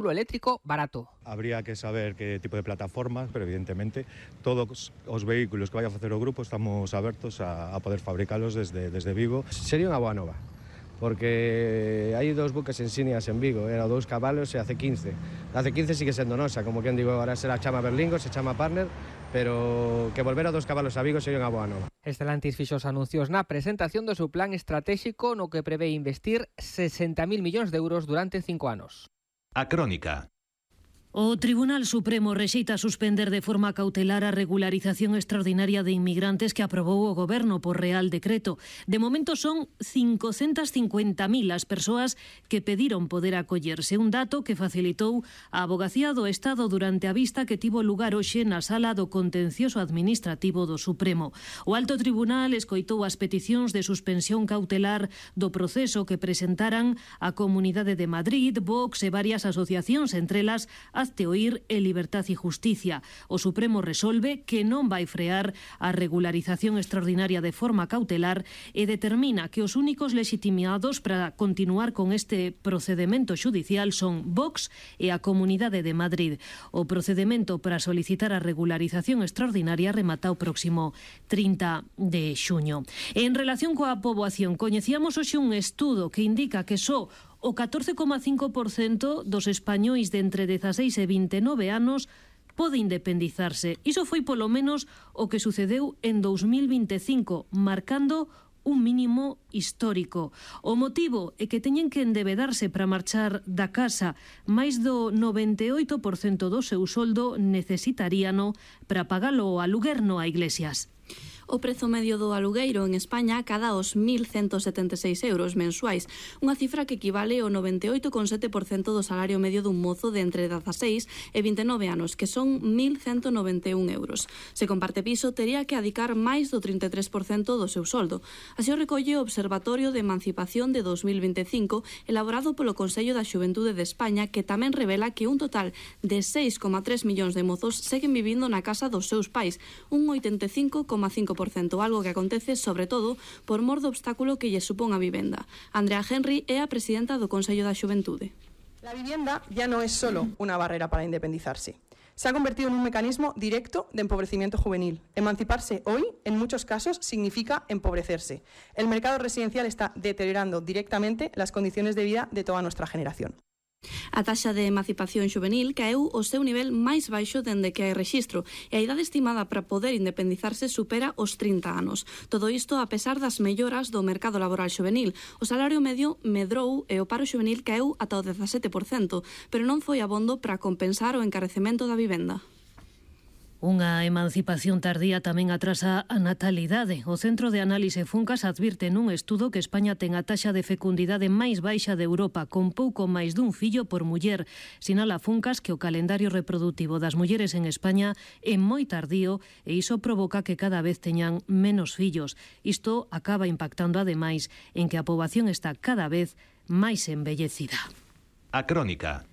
eléctrico barato. Habría que saber que tipo de plataformas, pero evidentemente todos os vehículos que vaya a facer o grupo estamos abertos a poder fabricalos desde Vigo. Sería unha boa nova, porque hai dos buques insignias en Vigo, era 2 cabalos e a C15. A C15 sigue sendo nosa, como quen digo, ahora será chama Berlingo, se chama Partner, pero que volver a 2 cabalos a Vigo sería unha boa nova. Stellantis fixo os anuncios na presentación do seu plan estratégico no que prevé investir 60.000 millóns de euros durante 5 anos. A Crónica. O Tribunal Supremo rexeita suspender de forma cautelar a regularización extraordinaria de inmigrantes que aprobou o Goberno por Real Decreto. De momento son 550.000 as persoas que pediron poder acollerse, un dato que facilitou a Avogacía do Estado durante a vista que tivo lugar hoxe na Sala do Contencioso Administrativo do Supremo. O Alto Tribunal escoitou as peticións de suspensión cautelar do proceso que presentaran a Comunidade de Madrid, Vox e varias asociacións, entre elas Hazte Oír e Libertad y Justicia. O Supremo resolve que non vai frear a regularización extraordinaria de forma cautelar e determina que os únicos legitimados para continuar con este procedemento xudicial son Vox e a Comunidade de Madrid. O procedemento para solicitar a regularización extraordinaria remata o próximo 30 de xuño. En relación coa poboación, coñecíamos hoxe un estudo que indica que só o 14,5% dos españois de entre 16 e 29 anos pode independizarse. Iso foi polo menos o que sucedeu en 2025, marcando un mínimo histórico. O motivo é que teñen que endebedarse para marchar da casa. Máis do 98% do seu soldo necesitaríano para pagalo ao aluguer no a Iglesias. O prezo medio do alugueiro en España cada aos 1.176 euros mensuais, unha cifra que equivale ao 98,7% do salario medio dun mozo de entre 16 e 29 anos, que son 1.191 euros. Se comparte piso, tería que adicar máis do 33% do seu soldo. Así o recolle o Observatorio de Emancipación de 2025, elaborado polo Consello da Xuventude de España, que tamén revela que un total de 6,3 millóns de mozos seguen vivindo na casa dos seus pais, un 85,5%, algo que acontece, sobre todo, por mor do obstáculo que lle supón a vivenda. Andrea Henry é a presidenta do Consello da Xuventude. La vivienda ya no es solo una barrera para independizarse. Se ha convertido en un mecanismo directo de empobrecimiento juvenil. Emanciparse hoy, en muchos casos, significa empobrecerse. El mercado residencial está deteriorando directamente las condiciones de vida de toda nuestra generación. A taxa de emancipación xuvenil caeu ao seu nivel máis baixo dende que hai rexistro e a idade estimada para poder independizarse supera os 30 anos. Todo isto a pesar das melloras do mercado laboral xuvenil. O salario medio medrou e o paro xuvenil caeu ata o 17%, pero non foi abondo para compensar o encarecemento da vivenda. Unha emancipación tardía tamén atrasa a natalidade. O Centro de Análise Funcas advirte nun estudo que España ten a taxa de fecundidade máis baixa de Europa, con pouco máis dun fillo por muller. Sinala Funcas que o calendario reprodutivo das mulleres en España é moi tardío e iso provoca que cada vez teñan menos fillos. Isto acaba impactando ademais en que a poboación está cada vez máis envellecida. A Crónica.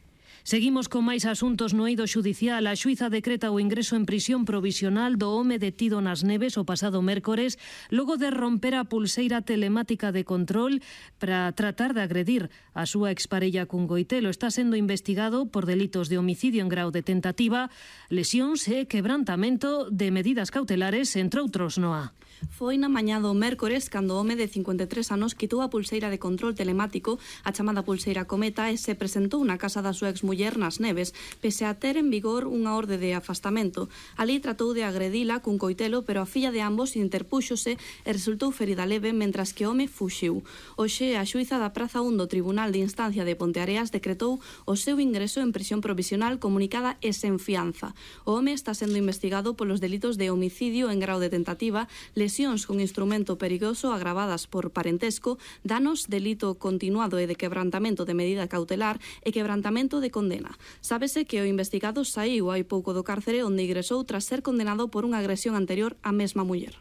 Seguimos con máis asuntos no eido xudicial. A xuíza decreta o ingreso en prisión provisional do home detido nas Neves o pasado mércores logo de romper a pulseira telemática de control para tratar de agredir a súa exparella cun goitelo. Está sendo investigado por delitos de homicidio en grau de tentativa, lesións e quebrantamento de medidas cautelares, entre outros, Noa. Foi na mañá do mércores cando o home de 53 anos quitou a pulseira de control telemático, a chamada pulseira Cometa, e se presentou na casa da súa exmuller nas Neves, pese a ter en vigor unha orde de afastamento. Ali tratou de agredila cun coitelo, pero a filla de ambos interpúxose e resultou ferida leve, mentras que o home fuxiu. Hoxe, a xuíza da Praza 1 do Tribunal de Instancia de Ponteareas decretou o seu ingreso en prisión provisional comunicada e sen fianza. O home está sendo investigado polos delitos de homicidio en grau de tentativa, lesións con instrumento perigoso agravadas por parentesco, danos, delito continuado e de quebrantamento de medida cautelar e quebrantamento de condena. Sábese que o investigado saíu hai pouco do cárcere onde ingresou tras ser condenado por unha agresión anterior á mesma muller.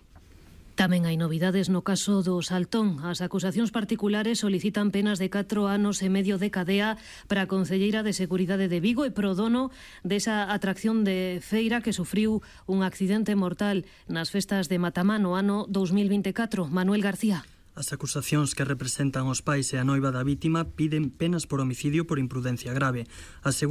Tamén hai novidades no caso do Saltón. As acusacións particulares solicitan penas de 4 anos e medio de cadea para a concelleira de Seguridade de Vigo e pro dono desa atracción de feira que sufriu un accidente mortal nas festas de Matamá no ano 2024. Manuel García. As acusacións que representan os pais e a noiva da vítima piden penas por homicidio por imprudencia grave. Asegura